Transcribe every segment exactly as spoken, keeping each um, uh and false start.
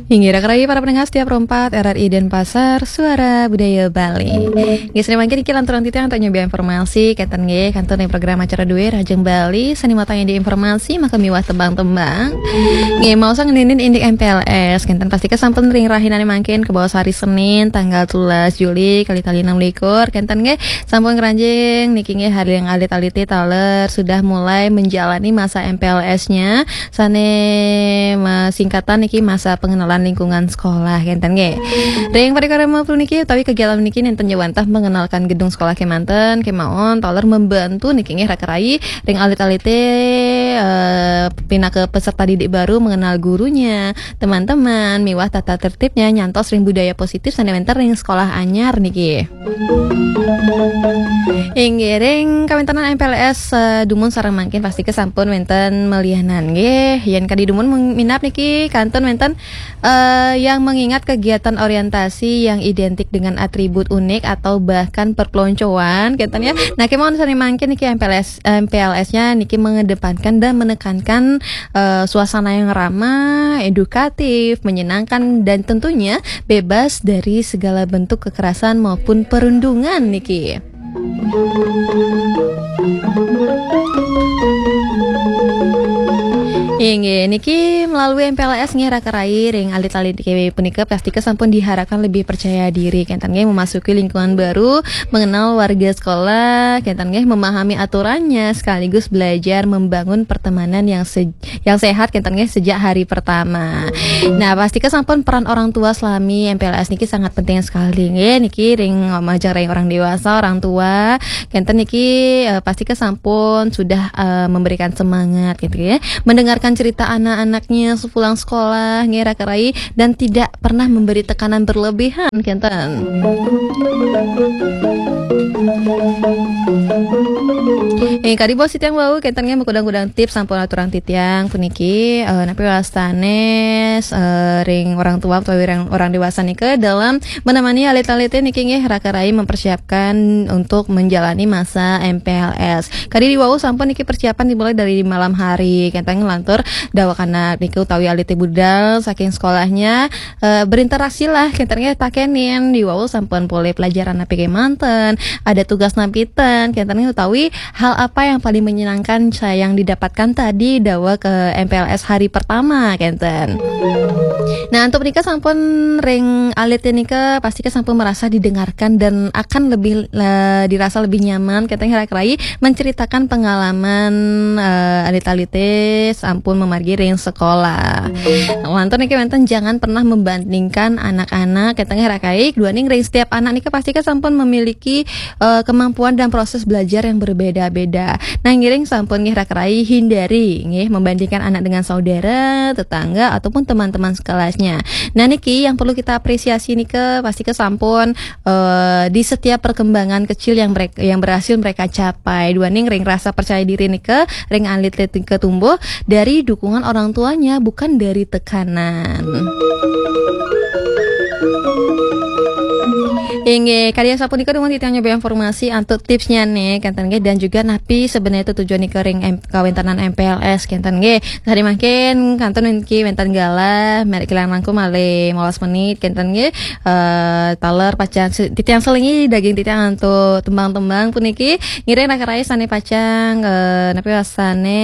Inggih, raka rayi para pendengar setia Pro empat R R I Denpasar, Suara Budaya Bali. Nggih, sane mangkin niki lanturang titiang antuk nyobi informasi, kenten nggih, kantun ring program acara duwe Rahajeng Bali, sane matangi di informasi, maka miwah tembang-tembang. Nggih, maosang ngeninin indik M P L S, kenten pastika sampun ring rahinane mangkin, kabaos hari Senin, tanggal telulas Juli, kali-kali enam likur, kenten nggih, sampun ngranjing, niki nggih, hari yang alit-alite taler, sudah mulai menjalani masa M P L S-nya, sane masingkatan niki masa pengenalan lingkungan sekolah, kenten nggih. Ring parikrama puniki utawi kegiatan niki nenten jawantah mengenalkan gedung sekolah kemanten, kemawon taler membantu niki nggih raka rayi ring alit-alite, eh, pinaka peserta didik baru mengenal gurunya, teman-teman, miwah tata tertibnya nyantos ring budaya positif sane wenten ring sekolah anyar niki. Inggih, ring kawentenan M P L S, eh, dumun sareng mangkin pastika sampun wenten malianan nggih. Yen kadi dumun meng-, minab niki kantun wenten, eh, yang mengingat kegiatan orientasi yang identik dengan atribut unik atau bahkan perpeloncoan, kenten ya. Nah, kemawon sane mangkin niki M P L S, M P L S-nya niki mengedepankan dan menekankan, eh, suasana yang ramah, edukatif, menyenangkan, dan tentunya bebas dari segala bentuk kekerasan maupun perundungan niki. Inggih, niki melalui M P L S nggih raka rayi ring alit-alit niki punika pastika sampun diharapkan lebih percaya diri, kenten nggih, memasuki lingkungan baru, mengenal warga sekolah, kenten nggih, memahami aturannya sekaligus belajar membangun pertemanan yang se-, yang sehat, kenten nggih, sejak hari pertama. Nah, pastika sampun peran orang tua selami M P L S niki sangat penting sekali nggih. Niki ring majeng ring orang dewasa, orang tua, kenten niki, eh, pastika sampun sudah, eh, memberikan semangat gitu ya. Mendengarkan cerita anak-anaknya sepulang sekolah nggih raka rayi dan tidak pernah memberi tekanan berlebihan, kenten. Eh, kadi baos titiang wau, kenten nggih, makudang-kudang tips sampun aturang titiang puniki, eh, napi wastane, eh, ring orang tua utawi ring orang dewasa nika dalam menemani alit-alite niki nggih raka rayi mempersiapkan untuk menjalani masa M P L S. Kadi wau sampun niki persiapan dimulai dari malam hari, kenten nglantur dawakanak niki utawi alite budal saking sekolahnya, eh, berinteraksi lah, kenten nggih takenin, diwau sampun polih pelajaran napi kemanten, ada tugas napi ten, kenten nggih utawi hal apa yang paling menyenangkan saya yang didapatkan tadi dawa ke M P L S hari pertama, kenten. Nah, untuk menika sampun ring alit nika pastika sampun merasa didengarkan dan akan lebih, eh, dirasa lebih nyaman, kenten nggih raka rayi menceritakan pengalaman, eh, alit-alite sampun memargi ring sekolah. Wantun niki wenten jangan pernah membandingkan anak-anak, kenten nggih raka rayi, duaning ring setiap anak nika pastika sampun memiliki, eh, kemampuan dan proses belajar yang berbeda-beda. Nah, ngiring sampun nggih raka rayi hindari nggih membandingkan anak dengan saudara, tetangga ataupun teman-teman sekelasnya. Nah, niki yang perlu kita apresiasi nika pastika sampun, eh, di setiap perkembangan kecil yang mereka, yang berhasil mereka capai. Duaning ring rasa percaya diri nika ring alit-alit nika tumbuh dari dukungan orang tuanya, bukan dari tekanan. Inggih, kadi asapunika dumun titiang nyobi informasi antuk tipsnya nih, kenten nggih, dan juga napi sebenarnya tujuan nika ring M-, kawentenan M P L S, kenten nggih. Sane mangkin kantun niki wenten galah, merek kilang langkung malih limolas menit, kenten nggih. Eh, taler pacang se-, titiang selingi daging titiang antuk tembang-tembang puniki. Ngiring raka rayi sane pacang, eh, napi wastane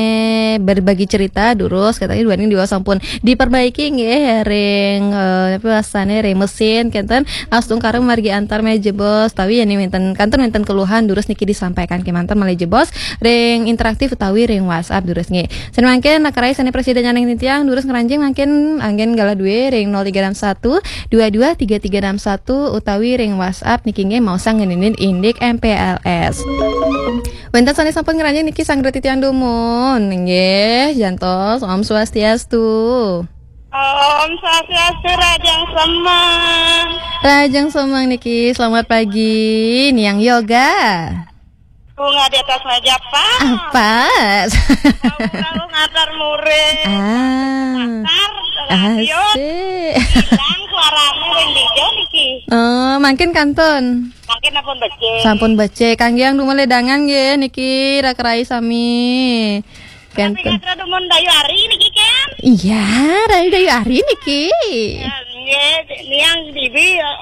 berbagi cerita durus, kenten nggih duaning diwau sampun diperbaiki nggih ring, eh, napi wastane ring mesin, kenten astungkara margi antar malih jebos, utawi yen wenten, kantun wenten keluhan durus niki disampaikan kemanten malih jebos ring interaktif utawi ring WhatsApp durus nggih. Sane mangkin raka rayi sane prasida nyaning titiang durus ngranjing mangkin anggen galah duwe ring nol tiga enam satu dua dua tiga tiga enam satu utawi ring WhatsApp niki nggih maosang ngeninin indik M P L S. Wenten sane sampun ngranjing niki sanggra titiang dumun nggih, jantos Om Swastiastu. Om Swastiastu, Rahajeng Semeng. Rahajeng Semeng niki, selamat pagi, Niang Yoga. Bunga di atas meja, Pak. Apa? Tahu-tahu ngatar murid. Ah. Ngatar, radio. Asik. Hilang suaranya ring dija niki. Oh, mangkin kantun. Mangkin ampun becik. Sampun becik. Kangge yang dumun ledangan nggih niki raka rayi sami. Tapi kantun. Katra dumun Dayu Ari niki kan? Iya, Dayu Dayu Ari niki. Ya, nggih, niang bibi, eh,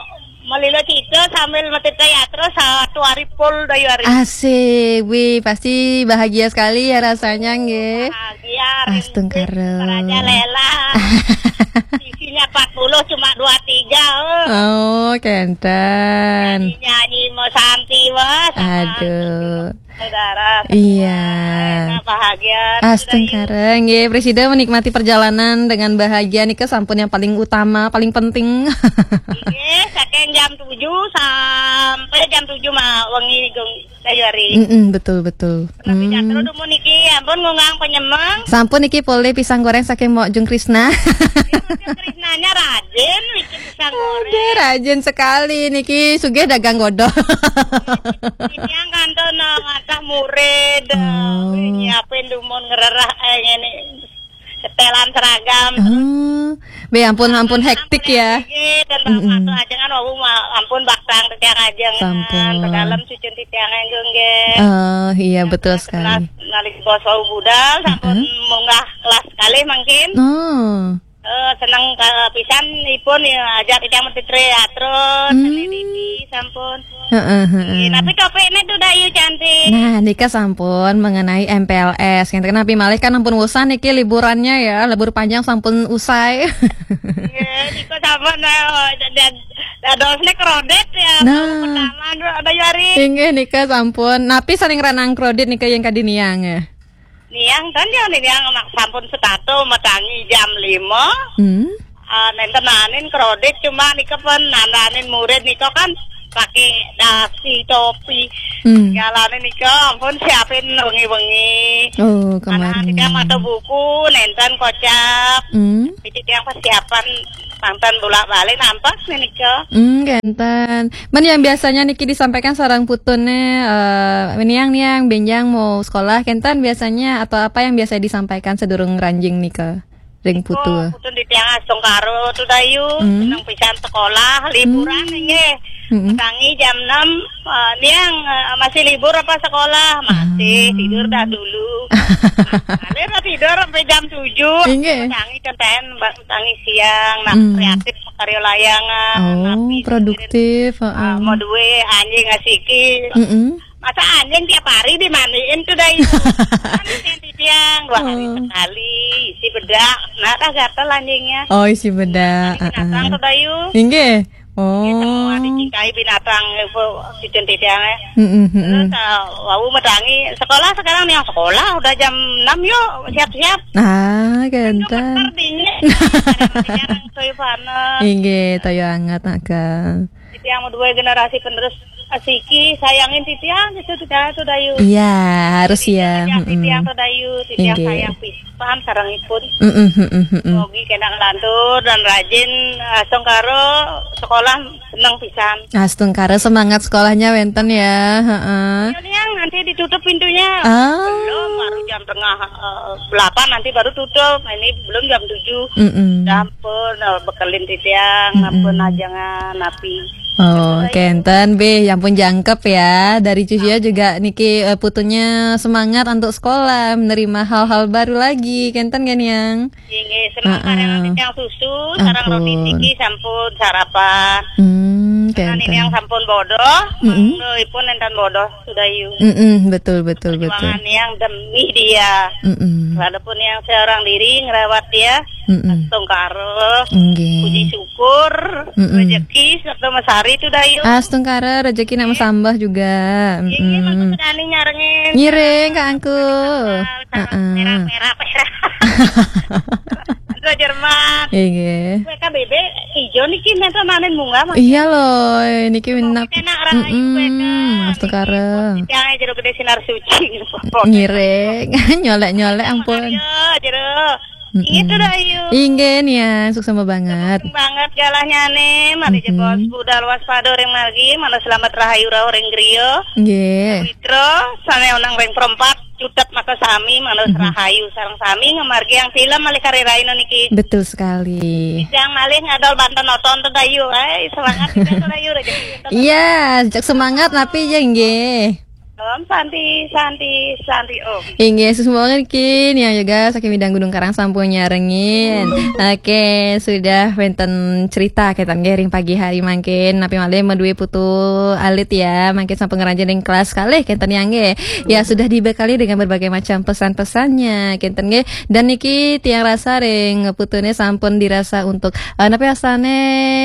melilo cita sambil metit yatra satu hari full Dayu Ari. Asik, wih, pasti bahagia sekali ya rasanya, nggih. Bahagia, Astungkara. Raja Lela. Isinya empat puluh, cuma dua tiga, eh. Oh, kenten. Nyanyi-nyanyi mau Santi, wah, sama Aduh. Saudara semua, Iya. Enak, bahagia. Astungkara, nggih, Presida menikmati perjalanan dengan bahagia nika sampun yang paling utama, paling penting. Nggih, saking jam tujuh sampai jam tujuh ma-, wengi, Gung Dayari. Mm-mm, betul, betul. Tapi Hmm. Jatro dumun niki, ampun, ngundang penyemeng. Sampun niki polih pisang goreng saking Mok Jung Krisna. Ini Mok Jung Krisnanya rajin bikin pisang goreng. Aduh, rajin sekali niki, sugih dagang godong. Ini yang kantor, no, matah murid, Oh. nyiapin dumun ngererah, eh, ini setelan seragam. Oh, be, ampun, ampun, hektik ya. Nggih, dan Mm-mm. Bapak ajengan, wau ma-, ampun, bakal titiang ajengan. Sampun. Ke dalam cucun titiang, nggih. Oh, iya, betul sekali. Nalika bos wau budal, sampun Heeh. munggah kelas kalih mungkin. Oh. Eh, seneng ke pisan ipun ya, ajak titiang mesti teater, Hmm. Seni Didi, sampun. Heeh, heeh. Nggih, tapi topiknya tuh Dayu cantik. Nah, nika sampun mengenai M P L S. Ngenten, napi malih kan ampun wusan niki liburannya ya, libur panjang sampun usai. Nggih, nika sampun, eh, dad-, dadosnya kredit ya, Nah. Pertama, Dayu Ari. Inggih, nika sampun. Napi saning ranang kredit nika yang kadiniang ya? Niang kan ya, niang mak sampun setatu metangi jam lima. Hmm. Ah, nenten nanin kredit, cuma nika pun nandanin murid nika kan pakai dasi, topi. Hmm. Galane nika ampun siapin wengi-wengi. Oh, anak kemarin. Nika maca buku, nenten kocap. Hmm. Jadi yang persiapan mantan bolak-balik nampak nih nika. Hmm, kenten. Men yang biasanya niki disampaikan sareng putune, eh, niang, niang, benjang mau sekolah, kenten biasanya atau apa yang biasa disampaikan sedurung ranjing nika? Ring putu. Putun titiang astungkara tu Dayu, Hmm. seneng pisan sekolah, liburan Hmm. nggih. Mm-mm. Tangi jam enam, eh, niang, eh, masih libur apa sekolah? Masih, Ah. tidur dah dulu. Alir dah tidur sampai jam tujuh, Inggih. Tangi kenten, ba-, tangi siang, nah, Hmm. kreatif karya layangan, Oh, napi produktif, mikirin, heeh. Ah, mau duwe anjing asiki. Mm-mm. Masa anjing tiap hari dimandiin tuh, Dayu? Kan titiang dua hari Oh. sekali, isi bedak. Nah, dah gatel anjingnya. Oh, isi bedak, Ini binatang heeh. tuh, Dayu. Inggih. Oh. Ini semua dicintai binatang, ibu, cucun titiang, eh. Mm-mm, mm-mm. Terus, ah, wau metangi, sekolah sekarang nih, yang sekolah udah jam enam, yuk, siap-siap. Ah, kenten. Gemeter dingin. Kadang-kadang soy panas. Inggih, toyo anget, Kak. Titiang mau dua generasi penerus asiki, sayangin titiang, gitu, titiang tuh, Dayu. Iya, harus Titiang ya. Titiang Mm-mm. tuh, Dayu. Titiang Inggih. Sayang pisan sareng ipun. Mm-mm, mm-mm, mm-mm. Mogi kena ngelantur dan rajin, eh, astungkara sekolah seneng pisan. Astungkara semangat sekolahnya wenten ya, heeh. Ya, Niang, nanti ditutup pintunya. Ah. Belum, baru jam tengah, eh, delapan nanti baru tutup. Ini belum jam tujuh. Mm-mm. Dah ampun, eh, bekelin titiang, Mm-mm. ampun ajengan, napi. Oh, kenten, be, ya ampun jangkep ya. Dari Cucia juga niki, eh, putunya semangat untuk sekolah, menerima hal-hal baru lagi. Kenten kan, Yang? Inggih, seneng Heeh. Karenan titiang susu, sareng roti Ampun. Tiki sampun sarapan. Hmm, Karena ini kenten. Yang sampun bodoh, Mm-mm. mangga ipun enten bodoh, sudah yu. Mm-mm, betul, betul, betul. Perjuangan yang demi dia. Mm-mm. Walaupun yang seorang diri ngerawat dia, Mm-mm. astungkara, Inggih. puji syukur, Mm-mm. rezeki, serta mesari itu, Dayu. Astungkara, rezeki nak Inggih. Mesambah juga. Inggih, Mm-mm. Bagus sekali nyarengin. Ngiring, Kak Angku. Sarang Heeh. Merah, merah, merah. Itu Jerman. Inggih. Kue K B B ijo niki menten nanin bunga, Mas. Iya loh, niki minap. Enak rahayu kue, Mm-mm, Kak. Astungkara. Niki, yang jero gede sinar suci. Ngiring, nyolek-nyolek, ampun. Iya, jero. Mm-mm. Inggih tuh, Dayu. Inggih, Niang, suksma banget. Suksma banget galahnya nih, mari Mm-mm. jebos budal waspada ring margi, mana selamat rahayu rauh ring griya. Nggih. Mitra, sane onang ring perempat, cutet maka sami, manus Mm-hmm. rahayu sareng sami, ngemargi yang film malih kari raina niki. Betul sekali. Yang malih ngadol banten oton tuh, Dayu. Hai, semangat kita tuh, Dayu, rezeki kita. Iya, jejak semangat napi ya, nggih. Om Santi, Santi, Santi Om. Inggih, suksma mawon niki Niang Yoga saking Midang Gunung Karang sampun nyarengin. Oke, sudah wénten cerita kénten nggih ring pagi hari mangkin. Napi malih madué putu alit ya, mangkin sampun ngranjing ring kelas kalih kénten ya nggih. Ya, sudah dibekali dengan berbagai macam pesan-pesannya kénten nggih. Dan niki tiang rasa ring putuné sampun dirasa untuk, eh, napi asané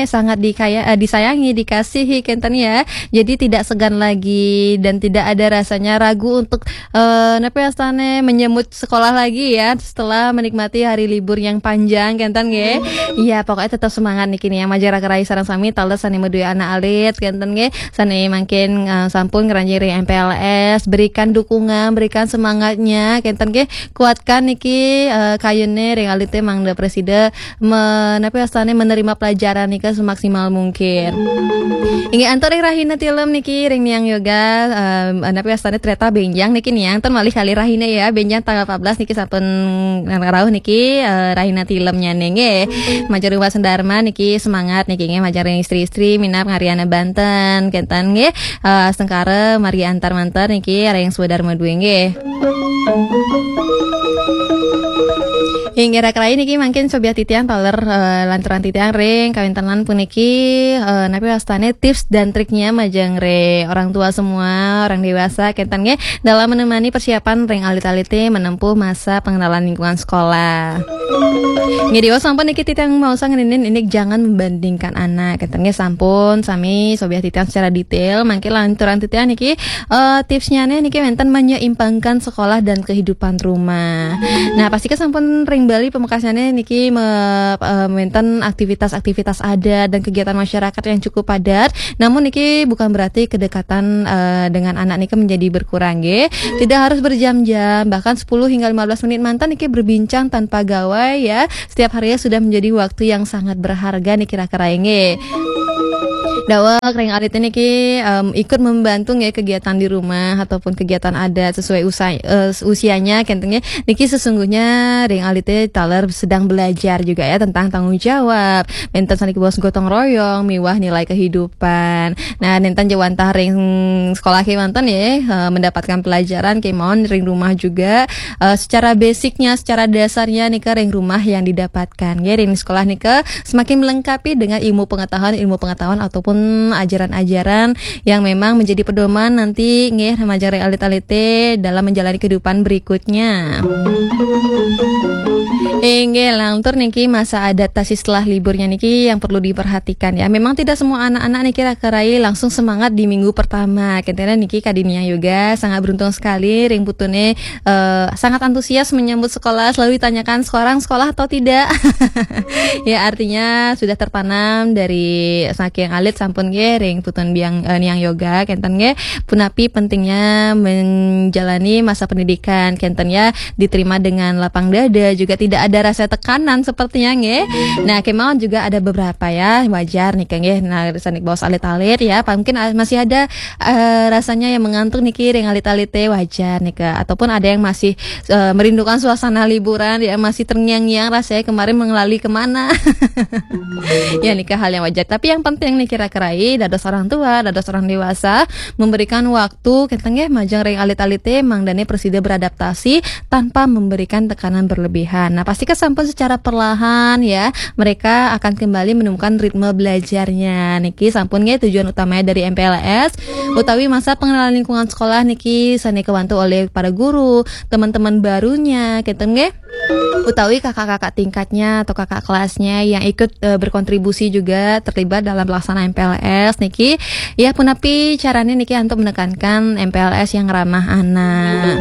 sangat dikaya-, eh, disayangi, dikasihi kénten ya. Jadi tidak segan lagi dan tidak ada rasanya ragu untuk, eh, napi asané menyambut sekolah lagi ya setelah menikmati hari libur yang panjang kénten nggih. Iya, pokoknya tetap semangat niki nih ya, majeng raka rai sareng sami taler sané madué anak alit kénten nggih. Sané mangkin, eh, sampun ngranjing ring M P L S, berikan dukungan, berikan semangatnya kénten nggih. Kuatkan niki, eh, kayuné ring alité mangda prasida me-, napi asané menerima pelajaran nika semaksimal mungkin. Inggih antuk ring rahina tilem niki ring Niang Yoga, em, napi asané ternyata bénjang niki Niang, ten malih kalih rahina ya, bénjang tanggal empat belas niki sampun rauh niki, eh, rahina tilemnyané nggih. Majeng ring Wasen Dharma niki semangat niki nggih, majeng ring istri-istri minab ngariana banten kénten nggih. Eh, astungkara mari antar manten niki ring swadarma dué nggih. Inggih raka rai niki mangkin cobiah titiang taler, eh, lanturang titiang ring kawéntenan puniki, eh, napi wastané tips dan triknya majeng ring orang tua semua, orang dewasa kénten nggih, dalam menemani persiapan ring alit-alité menempuh masa pengenalan lingkungan sekolah. Nggih, diwaos sampun niki titiang maosang ngeninin ini jangan membandingkan anak kénten nggih, sampun sami cobiah titiang secara detail, mangkin lanturang titiang niki eh, tipsnyané niki wénten menyeimbangkan sekolah dan kehidupan rumah. Nah, pasti sampun ring Bali pamekasnyané niki me-, eh, wénten aktivitas-aktivitas adat dan kegiatan masyarakat yang cukup padat. Namun niki bukan berarti kedekatan, eh, dengan anak niki menjadi berkurang nggih. Tidak harus berjam-jam, bahkan sepuluh hingga lima belas menit manten niki berbincang tanpa gawai ya. Setiap harinya sudah menjadi waktu yang sangat berharga niki raka rai nggih. Daweg ring alit niki, em, ikut membantu nggih kegiatan di rumah ataupun kegiatan adat sesuai usai-, eh, usianya kénten nggih. Niki sesungguhnya ring alit taler sedang belajar juga ya tentang tanggung jawab. Wénten saniki bos gotong royong miwah nilai kehidupan. Nah, nénten ja wantah ring sekolah kémanten ya, eh, mendapatkan pelajaran kémawon ring rumah juga. Eh, secara basicnya, secara dasarnya nika ring rumah yang didapatkan. Nggih, ring sekolah nika semakin melengkapi dengan ilmu pengetahuan, ilmu pengetahuan ataupun ajaran-ajaran yang memang menjadi pedoman nanti nggih majeng ring alit-alité dalam menjalani kehidupan berikutnya. Inggih, lantur niki masa adaptasi setelah liburnya niki yang perlu diperhatikan ya. Memang tidak semua anak-anak niki raka rai langsung semangat di minggu pertama. Kénten niki kadi Niang Yoga sangat beruntung sekali ring putuné eh, sangat antusias menyambut sekolah, selalu ditanyakan sekarang sekolah atau tidak. Ya, artinya sudah tertanam dari saking alit sampun nggih ring putun biang, eh, Niang Yoga, kénten nggih. Punapi pentingnya menjalani masa pendidikan, kénten ya, diterima dengan lapang dada, juga tidak ada rasa tekanan sepertinya nggih. Nah, kémawon juga ada beberapa ya, wajar nih nggih. Nah, sané baos alit-alit ya, mungkin a-, masih ada eh, rasanya yang mengantuk niki ring alit-alité wajar nika, ataupun ada yang masih, eh, merindukan suasana liburan ya, masih terngiang-ngiang rasanya kemarin mengelali kemana. Ya nika hal yang wajar, tapi yang penting niki raka rai dados orang tua, dados orang dewasa memberikan waktu kénten nggih majeng ring alit-alité mangdané prasida beradaptasi tanpa memberikan tekanan berlebihan. Nah, pasti sampun secara perlahan ya mereka akan kembali menemukan ritme belajarnya. Niki sampun nggih tujuan utamanya dari M P L S utawi masa pengenalan lingkungan sekolah niki sané kawantu oleh para guru, teman-teman barunya, kénten nggih. Utawi kakak-kakak tingkatnya atau kakak kelasnya yang ikut, eh, berkontribusi juga terlibat dalam pelaksanaan M P L S niki. Ya, punapi carané niki untuk menekankan M P L S yang ramah anak.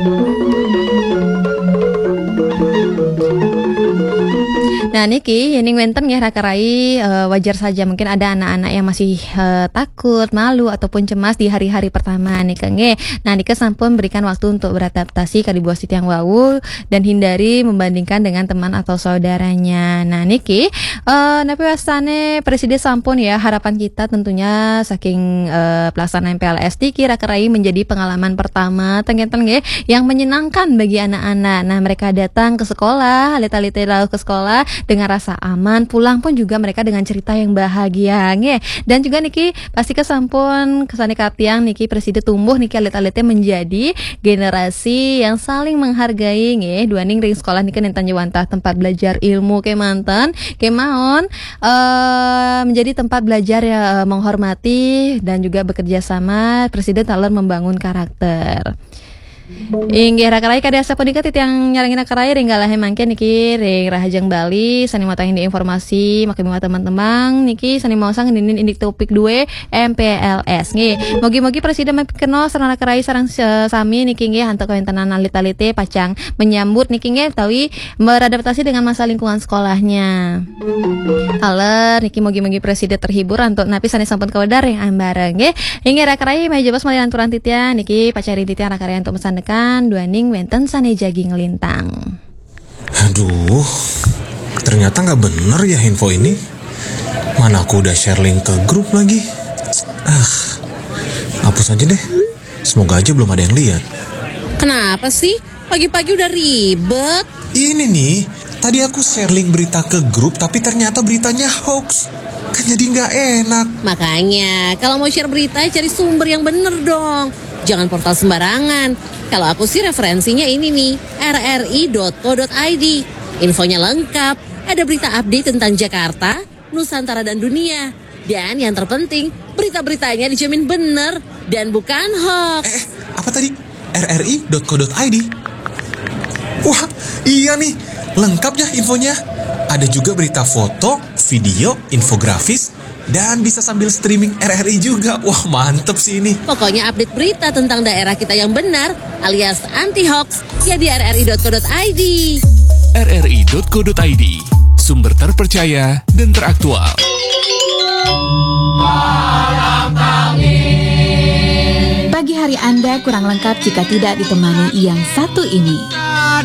Nah, niki, yéning wénten nggih raka rai, eh, wajar saja mungkin ada anak-anak yang masih, eh, takut, malu, ataupun cemas di hari-hari pertama nika nggih. Nah, nika sampun berikan waktu untuk beradaptasi kadi baos titiang wau dan hindari membandingkan dengan teman atau saudaranya. Nah, niki, eh, napi wastané prasida sampun ya, harapan kita tentunya saking, eh, pelaksanaan M P L S niki raka rai menjadi pengalaman pertama, ten kénten nggih, yang menyenangkan bagi anak-anak. Nah, mereka datang ke sekolah, alit-alité rauh ke sekolah dengan rasa aman, pulang pun juga mereka dengan cerita yang bahagia, nggih. Dan juga niki pasti kesampun kesane katiang niki presida tumbuh niki alit-alite menjadi generasi yang saling menghargai, nggih. Duaning ring sekolah niki nenten wantah tempat belajar ilmu kemanten, kemawon eh, menjadi tempat belajar ya, eh, menghormati dan juga bekerja sama, presida taler membangun karakter. Inggih, raka rai, kadi asapunika titiang nyarengin raka rai ring galahe mangkin niki ring Rahajeng Bali sane matur indik informasi, maka miwah teman-teman niki sane maosang ngenenin indik topik due M P L S. Nggih, mugi-mugi presida mapikenoh sareng raka rai sareng se-, sami niki nggih antuk kawentenan alit-alite pacang menyambut niki nggih utawi beradaptasi dengan masa lingkungan sekolahnya. Taler niki mugi-mugi presida terhibur antuk napi sane sampun kawedar ring ambara nggih. Inggih raka rai, malih jebos malih lanturang titiang niki pacari titiang raka rai antuk masandekan duaning wenten sane jagi nglintang. Aduh, ternyata nggak bener ya info ini. Mana aku udah share link ke grup lagi. Ah, hapus aja deh. Semoga aja belum ada yang lihat. Kenapa sih? Pagi-pagi udah ribet. Ini nih, tadi aku share link berita ke grup tapi ternyata beritanya hoax. Kan jadi nggak enak. Makanya, kalau mau share berita, cari sumber yang bener dong. Jangan portal sembarangan. Kalau aku sih referensinya ini nih, rri.co.id. Infonya lengkap. Ada berita update tentang Jakarta, Nusantara, dan dunia. Dan yang terpenting, berita-beritanya dijamin bener dan bukan hoax. Eh, apa tadi? rri.co.id. Wah, iya nih. Lengkap ya infonya. Ada juga berita foto, video, infografis, dan bisa sambil streaming R R I juga. Wah, mantep sih ini. Pokoknya update berita tentang daerah kita yang benar alias anti hoax ya di rri.co.id. rri.co.id, sumber terpercaya dan teraktual. Pagi hari Anda kurang lengkap jika tidak ditemani yang satu ini.